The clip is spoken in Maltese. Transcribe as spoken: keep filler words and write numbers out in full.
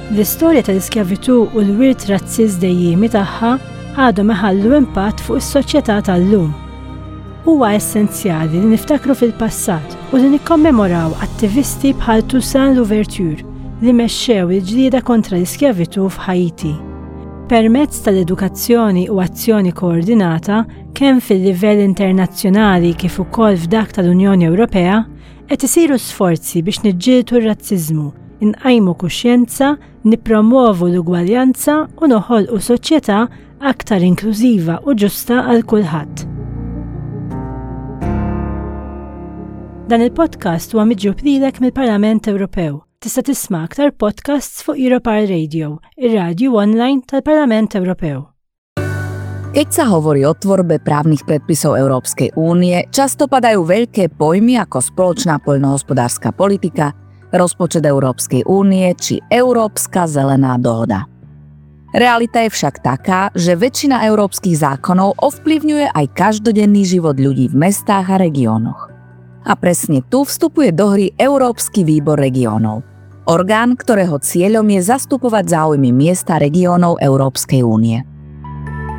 L-istorja tal-iskjavitù u l-wirt razzist dejjiemi tagħha għadhom iħallu impatt fuq is-soċjetà tal-lum. Huwa essenzjali li niftakru fil-passat u li nikkommemoraw attivisti bħal Toussaint Louverture li mexxew il-ġlieda kontra l-iskjavitù f'Haiti. Permezz tal-edukazzjoni u azzjoni koordinata kemm fil-livell internazzjonali kif ukoll f'dak tal-Unjoni Ewropea, qed isiru sforzi biex niġġieldu r-razziżmu, inqajmu kuxjenza, nippromovu l-ugwaljanza u noħolqu soċjetà aktar inklużiva u ġusta għal kulħadd. Dan il-podcast huwa miġjub lilek mill-Parlament Ewropew. Tista' tisma' aktar podcasts fuq Europarl Radio, ir-radju online tal-Parlament Ewropew. Keď sa hovorí o tvorbe právnych predpisov Európskej únie, často padajú veľké pojmy ako spoločná poľnohospodárska politika, rozpočet Európskej únie či Európska zelená dohoda. Realita je však taká, že väčšina európskych zákonov ovplyvňuje aj každodenný život ľudí v mestách a regiónoch. A presne tu vstupuje do hry Európsky výbor regiónov. Orgán, ktorého cieľom je zastupovať záujmy miest a regiónov Európskej únie.